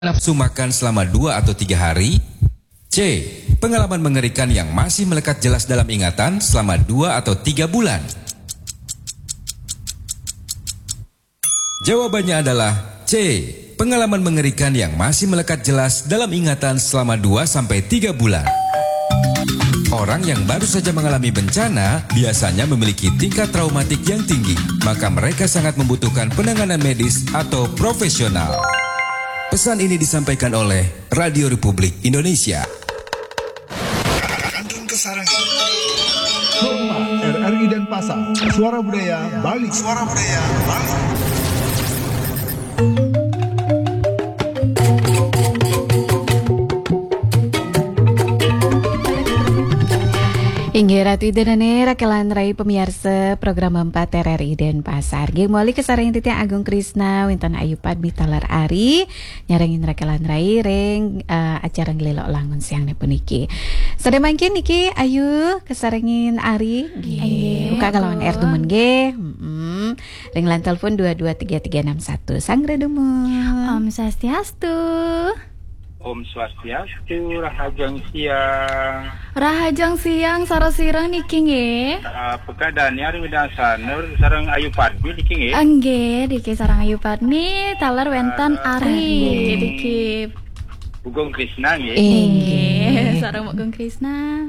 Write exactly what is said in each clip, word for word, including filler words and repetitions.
nafsu makan selama dua atau tiga hari? C. Pengalaman mengerikan yang masih melekat jelas dalam ingatan selama dua atau tiga bulan. Jawabannya adalah C. Pengalaman mengerikan yang masih melekat jelas dalam ingatan selama dua sampai tiga bulan. Orang yang baru saja mengalami bencana biasanya memiliki tingkat traumatik yang tinggi, maka mereka sangat membutuhkan penanganan medis atau profesional. Pesan ini disampaikan oleh Radio Republik Indonesia. Kantun Kesarangan. Hormat R R I Denpasar. Suara Budaya Bali. Suara Budaya Bali. Inggih Ratu Ida dané rakelan rai pamiarsa program empat R R I Denpasar. Nggih, mawali kasarengin titiang Agung Krisna, wénten Ayu Padmi taler Ari, nyarengin rakelan rai ring, eh, acara Nglélok Langun siang puniki. Sané mangkin niki Ayu kasarengin Ari. Nggih, inggih, buka kalawan Ratu. R dumun nggih. Mm-mm. Ring line telepon dua dua tiga tiga enam satu. Sang Ratu dumun. Om Swastiastu. Om Swastiastu, rahajeng siang. Rahajeng siang, sareng sira niki nggih? Ah, Kak Dania ring Widang Sanur, sareng Ayu Padmi niki nggih? Nggih, niki sareng Ayu Padmi, taler wénten Ari. Ari. Niki. Bugung Krisna nggih? Inggih, sareng Bugung Krisna.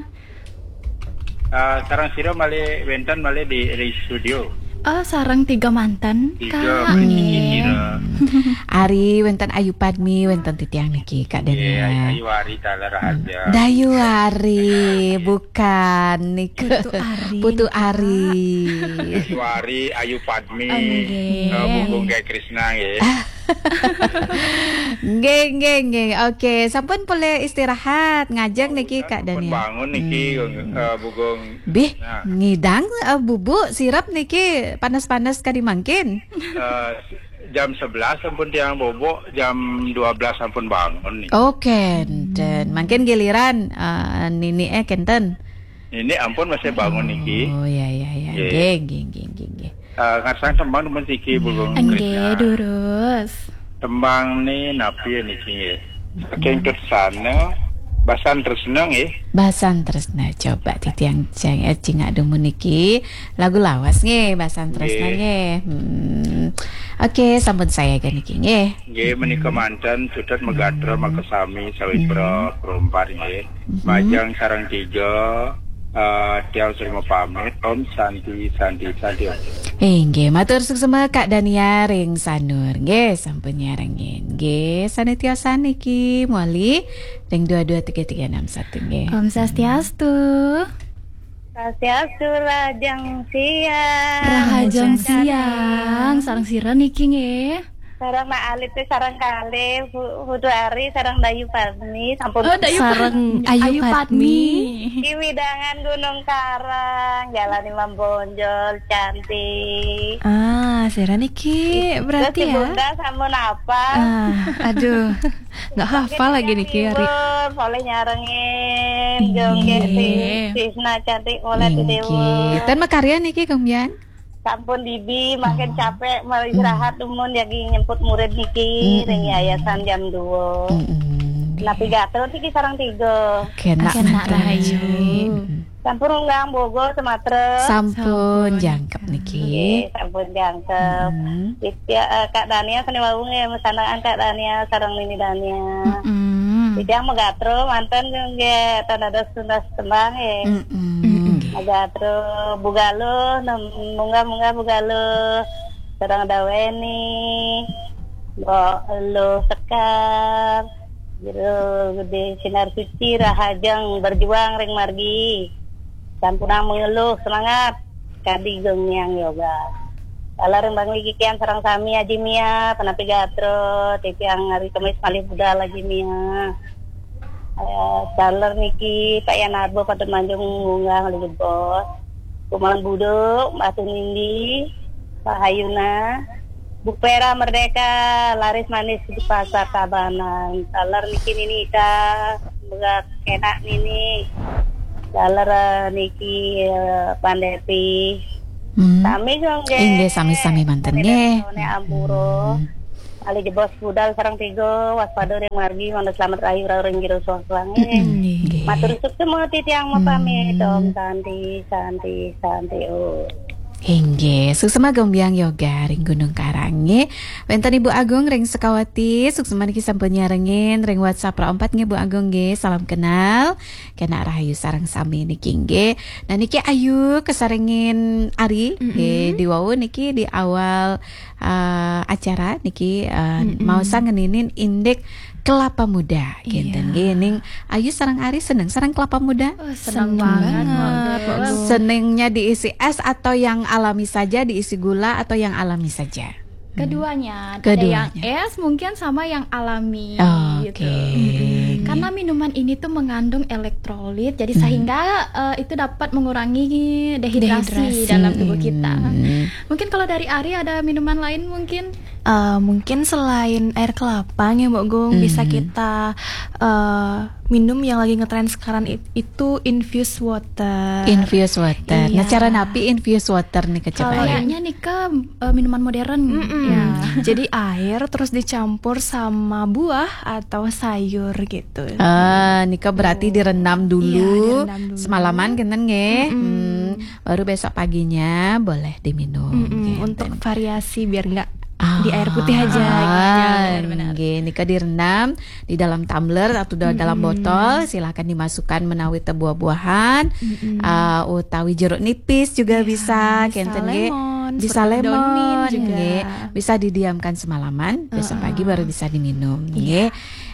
Ah, sareng sira malih wénten malih di, di studio. Oh, sareng tiga manten, tiga, Kak. Nggih. Ari, wénten Ayu Padmi, wénten titiang niki, Kak Dania. Nggih, Ayu Ari taler. Hmm. Raharja. Dayu Ari, bukan nika. Putu Ari. Putu Ari. Ayu Ari, Ayu Padmi, nggih. Eh, Bugung Gai Krisna nggih. Nggih, nggih, nggih. Oke, sampun polih istirahat, ngajeng niki, Kak Dania. Sampun bangun niki, hmm, eh, Bugung. Bih, nah. Ngidang, eh, bubuk sirep niki panas-panas kadi mangkin? Eh, jam sebelas sampun tiang bobok, jam dua belas sampun bangun niki. Oke, kénten. Mangkin giliran, eh, niniké kénten. Nini ampun masih bangun niki. Oh, ya, ya, ya. Nggih. Nggih, nggih, nggih, nggih, nggih. Eh, ngarsang tembang dumun siki, Bugung Krisna. Nggih, durus. Tembang né napi niki nggih? Saking Kersana, Basan Tresna nggih. Basan Tresna, coba titiang cang-, eh, cingak dumun niki. Lagu lawas nggih, Basan Tresna nggih. Nggih. Hmm. Oke, sampun sayaga niki nggih. Nggih, menika manten, sutet megatra makasami sawitra perempat nggih. Mhm. Majeng sareng tiga, eh, tiang sering mapamit. Om Santi, Santi, Santi, Om. Inggih, matur suksma Kak Dania ring Sanur. Nggih, sampun nyarengin. Nggih, sané tiosan niki mawali ring dua dua tiga tiga enam satu nggih. Om Swastiastu. Swastiastu, rahajeng siang. Rahajeng siang. Sareng sira niki nggih? Sareng Mak Alit, sareng kalih, Pu-, Putu Ari, sareng Dayu Padmi, sampun. Oh, Dayu Padmi. Sareng Ayu Padmi. Di wewidangan Gunung Karang, Jalan Imam Bonjol, cantik. Ah, sira niki berarti ya? Terus di Bunda sampun apa? Ah, aduh. Nggak hafal lagi niki, Ari. Polih nyarengin, nggih. Jongge si Tisna cantik, polih di Dewa. Nggih. Ten makarya niki, Kang Bian? Sampun didi, makin capek, mau istirahat, dumun jagi nyemput murid niki, ring yayasan jam dua. Mm-mm. Napi gatra niki sareng tiga. Kenak rahayu. Mm-mm. Sampun unggang Bogor, Sumatera. Sampun jangkep niki. Nggih, sampun jangkep. Mm-mm. Titiang, eh, Kak Dania sané wau nggih, masandekan Kak Dania sareng Nini Dania. Mm-mm. Titiang magatra manten nggih, tan dados tuntas tembang nggih. Mm-mm. Magatra Bu Galuh, nem-, munggah-munggah Bu Galuh. Sareng Daweni, Mbok Luh Sekar, Jero Gedé Sinar Suci, rahajeng berjuang ring margi. Sampunang mengeluh, semangat. Kadi geng niang yoga. Taler ring Bangli Kikian sareng sami Aji Mia, punapi gatra, titiang hari Kemis malih budal Aji Mia. Eh, taler niki Pak Yan Arbo, Padut Manjung, Gunung Jebos. Kuman Buduk, Batu Nindi, Pak Hayuna, Bu Pera Merdeka, laris manis di Pasar Tabanan. Taler niki Nini Ika, megak enak nini. Taler, eh, niki, eh, Pandeti. Hmm. Sami nggih. Inggih, sami-sami manten nggih. Sami nggih. Hmm. Malih jebos budal sareng tiga, waspada ring margi, mangda slamet rahayu rauh ring jero soang-soange. Mm-mm. Nggih. Matur suksma titiang mapamit. Mm. Om Santi, Santi, Santi, Om. Inggih, suksma Gembyang Yoga ring Gunung Karang nggih. Wenten Ibu Agung ring Sukawati, suksma niki sampun nyarengin ring WhatsApp rauh empat nggih Bu Agung nggih. Salam kenal. Kenak rahayu sareng sami niki nggih. Nah niki Ayu kasarengin Ari nggih. Mm-mm. Diwau niki di awal eh, acara niki, eh, mm-mm, maosang ngeninin indik kelapa muda, kinten. Iya. Nggih, ning Ayu sareng Ari seneng sareng kelapa muda? Oh, seneng banget, Mbak Gung. Senengnya diisi es atau yang alami saja, diisi gula atau yang alami saja? Hmm. Keduanya. Keduanya. Ada yang es mungkin sama yang alami. Oke. Gitu. Mm-mm. Karena minuman ini tuh mengandung elektrolit, jadi, hmm, sehingga, eh, itu dapat mengurangi dehidrasi, dehidrasi, dalam tubuh kita. Mm-mm. Mungkin kalau dari Ari ada minuman lain mungkin? Eh, mungkin selain air kelapa nih, Mbak Gung, bisa, hmm, kita, eh, minum yang lagi ngetren sekarang it-, itu infused water. Infused water. Nah, iya. Cara napi infused water nih, coba ya? Kayaknya nih ke, eh, minuman modern. Mm-mm. Ya. Jadi air terus dicampur sama buah atau sayur gitu. Ah, nika berarti, oh, direndam dulu, iya, direndam dulu semalaman, kinten nggih. Mm-mm. Hmm. Baru besok paginya boleh diminum, mm-mm, gitu. Untuk variasi biar nggak, ah, di air putih aja, gitu. Ah, benar-benar. Nggih, nika direndam di dalam tumbler atau da-, dalam, mm-mm, botol, silakan dimasukkan menawi teh buah-buahan, mm-mm, ah, utawi jeruk nipis juga, iya, bisa, bisa kinten nggih. Lemon, bisa seperti daun mint lemon, juga, nggih. Bisa didiamkan semalaman, besok pagi, heeh, baru bisa diminum, iya, nggih.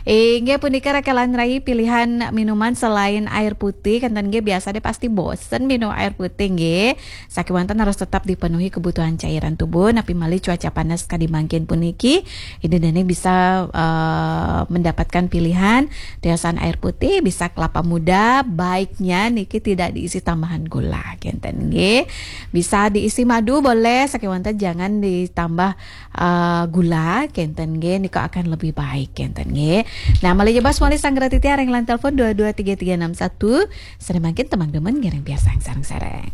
Inggih punika rakelan rai pilihan minuman selain air putih, kinten nggih, biasa deh pasti bosen minum air putih nggih. Sakewanten harus tetap dipenuhi kebutuhan cairan tubuh, napi malih cuaca panas kadi mangkin puniki, ida dane bisa, eh, mendapatkan pilihan tiosan air putih, bisa kelapa muda, baiknya niki tidak diisi tambahan gula, kinten nggih. Bisa diisi madu boleh, sakewanten jangan ditambah eh, gula, kinten nggih, nika akan lebih baik, kinten nggih. Nah, malih jebos malih sanggra titiang ring line telepon dua dua tiga tiga enam satu. Sane mangkin temang demen ngiring piarsang sareng-sareng.